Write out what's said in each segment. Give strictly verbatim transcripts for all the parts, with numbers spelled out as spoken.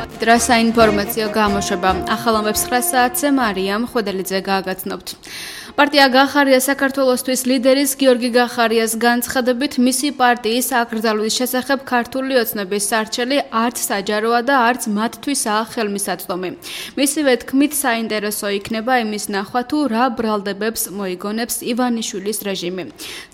Dra საინფორმაციო გამოშვება ახალამებს ცხრა საათზე მარიამ ხვედელიძე გააგრძნობთ. პარტია გახარია საქართველოსთვის ლიდერის გიორგი გახარიას განცხადებით მისი პარტიის აკრძალვის შესახებ ქართული ოცნების სარჩელი არც საჯაროა და არც მათთვისაა ხელმისაწვდომი. მისივე თქმით საინტერესო იქნება იმის ნახვა თუ რა ბრალდებებს მოიგონებს ივანიშვილის რეჟიმი.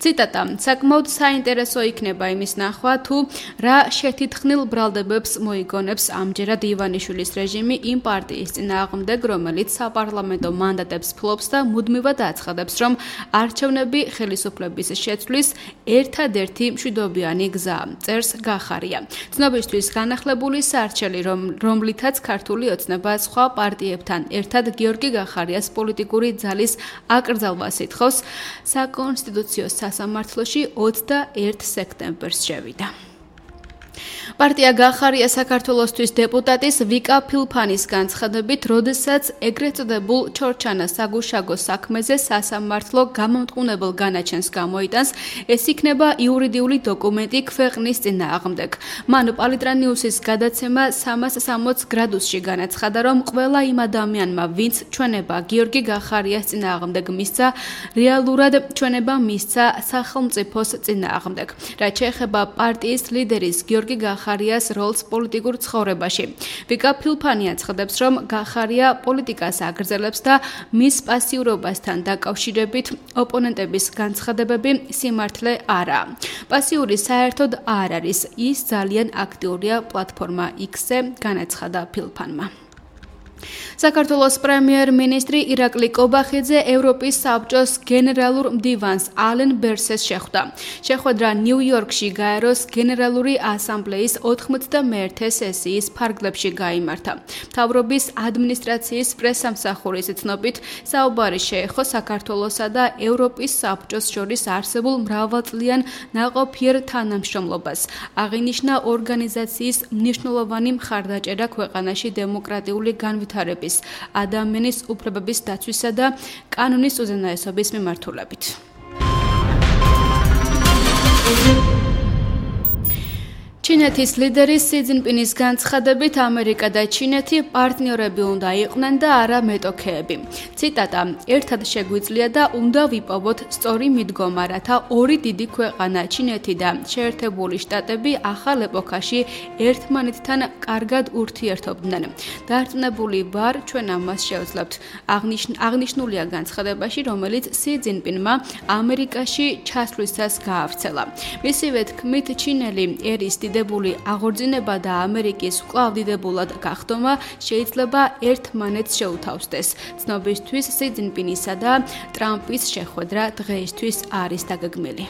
ციტატა: საკმაოდ საინტერესო იქნება იმის ნახვა თუ რა შეთითხნილ ბრალდებებს მოიგონებს ამჯერად ივანიშვილის რეჟიმი იმ პარტიის წინააღმდეგ, რომელიც საპარლამენტო მანდატებს ფლობს და მუდმივად აცხადებს, რომ არჩევნები ხელისუფლების შეცვლის ერთადერთი მშვიდობიანი გზაა, წერს გახარია. ცნობისთვის განახლებული სარჩელი, რომ რომლითაც ქართული ოცნება სხვა პარტიებთან ერთად გიორგი გახარიას პოლიტიკური ძალის აკრძალვას ითხოვს, საკონსტიტუციო სასამართლოში ოცდაერთ სექტემბერს შევიდა. პარტია გახარია საქართველოსთვის დეპუტატის ვიკა ფილფანის განცხადებით, როდესაც ეგრეთ წოდებულ ჩორჩანას საგუშაგო საქმეზე სასამართლო გამომტყუნებელ განაჩენს გამოიტანს, ეს იქნება იურიდიული დოკუმენტი ქვეყნის წინააღმდეგ. მან პალიტრანიუსის გადაცემა სამას სამოც გრადუსში განაცხადა, რომ ყველა იმ ადამიანმა, ვინც ჩვენება გიორგი გახარიას წინააღმდეგ მისცა, რეალურად ჩვენება მისცა სახელმწიფოს წინააღმდეგ. რაც შეეხება პარტიის ლიდერის გიორგი გახარიას როლს პოლიტიკურ ცხოვრებაში. ვიკა ფილფანი აცხადებს, რომ გახარია პოლიტიკას აგრძელებს და მის პასიურობასთან დაკავშირებით ოპონენტების განცხადებები სიმართლე არაა. პასიური საერთოდ არ არის, ის ძალიან აქტიურია პლატფორმა X-ზე, განაცხადა ფილფანმა. საქართველოს პრემიერ-მინისტრი ირაკლი კობახიძე ევროპის საბჭოს გენერალურ მდივანს ალენ ბერსეს შეხვდა. შეხვედრა ნიუ-იორკში გაეროს გენერალური ასამბლეის ოთხმოცდამეერთე სესიის ფარგლებში გაიმართა. მთავრობის ადმინისტრაციის პრესამსახურის ცნობით, საუბარი შეეხო საქართველოსა და ევროპის საბჭოს შორის არსებულ მრავალწლიან ნაყოფიერ თანამშრომლობას. აღინიშნა ორგანიზაციის მნიშვნელოვანი მხარდაჭერა ქვეყანაში დემოკრატიული განვითარების ადამიანის უფლებების დაცვისა და კანონის უზენაესობის მიმართულებით. ჩინეთის ლიდერის სი ძინპინის განცხადებით, ამერიკა და ჩინეთი პარტნიორები უნდა იყვნენ და არა მეტოქეები. ციტატა: ერთად შეგვიძლია და უნდა ვიპოვოთ სწორი მიდგომა, რათა ორი დიდი ქვეყანა, ჩინეთი და შეერთებული შტატები ახალ ეპოქაში ერთმანეთთან კარგად ურთიერთობდნენ. დარწმუნებული ვარ, ჩვენ ამას შევძლებთ. აღნიშნულია განცხადებაში, რომელიც სი ძინპინმა ამერიკაში ჩასვლისას გაავრცელა. მისივე თქმით, ჩინელი ერის დიდებული აღორძინება და ამერიკის კვლავ დიდებულად გახდომა შეიძლება ერთმანეთს შეუთავსდეს. ცნობისთვის სი ძინპინისა და ტრამპის შეხვედრა დღეისთვის არის დაგეგმილი.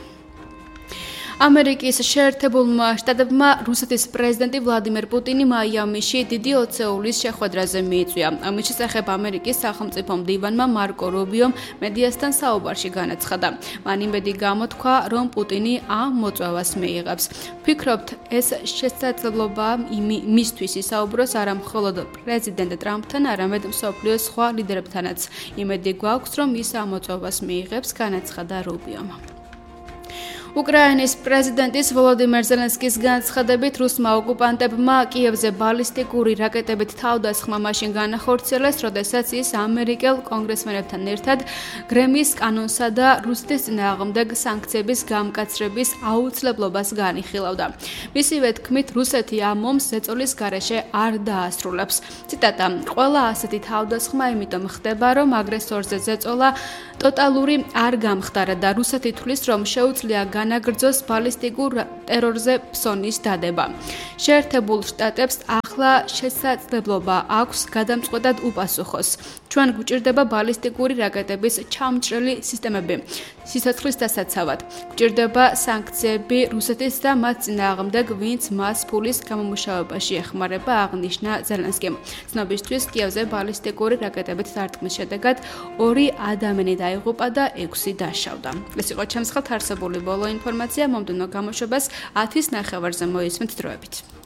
ამერიკის შეერთებულმა შტატებმა რუსეთის პრეზიდენტი ვლადიმერ პუტინი მაიამიში დიდი ოცეულის შეხვედრაზე მიიწვია. ამის შესახებ ამერიკის სახელმწიფო მდივანმა მარკო რუბიომ მედიასთან საუბარში განაცხადა. მან იმედი გამოთქვა, რომ პუტინი ამ მოწვევას მიიღებს. ვფიქრობთ, ეს შესაძლებლობაა მისთვის ისაუბროს არა მხოლოდ პრეზიდენტ ტრამპთან, არამედ მსოფლიოს სხვა ლიდერებთანაც. იმედი გვაქვს, რომ ის ამ მოწვევას მიიღებს, განაცხადა რუბიომ. უკრაინის პრეზიდენტის ვოლოდიმერ ზელენსკის განცხადებით, რუსმა ოკუპანტებმა კიევზე ბალისტიკური რაკეტებით თავდასხმა მაშინ განახორციელეს, როდესაც ის ამერიკელ კონგრესმენებთან ერთად გრემის კანონსა და რუსეთის წინააღმდეგ სანქციების გამკაცრების აუცილებლობას განიხილავდა. მისივე თქმით, რუსეთი ამ ომს ზეწოლის გარეშე არ დაასრულებს. ციტატა: ყველა ასეთი თავდასხმა იმიტომ ხდება, რომ აგრესორზე ზეწოლა ტოტალური არ გამხდარა და რუსეთი თვლის, რომ შეუძლია განაგრძოს ბალისტიკურ ტერორზე ფსონის დადება. შეერთებულ შტატებს ახლა შესაძლებლობა აქვს გადამწყვეტად უპასუხოს. ჩვენ გვჭირდება ბალისტიკური რაკეტების ჩამჭრელი სისტემები სიცოცხლის დასაცავად. გვჭირდება სანქციები რუსეთის და მათ წინააღმდეგ, ვინც მას ფულის გამომუშავებაში ეხმარება, აღნიშნა ზელენსკიმ. ცნობისთვის, კიევზე ბალისტიკური რაკეტებით დარტყმის შედეგად ორი ადამიანი დაიღუპა და ექვსი დაშავდა. ეს იყო ჩემს ხელთ არსებული ბოლო ინფორმაცია. მომდევნო გამოშვებას ათის ნახევარზე მოისმენთ დროებით.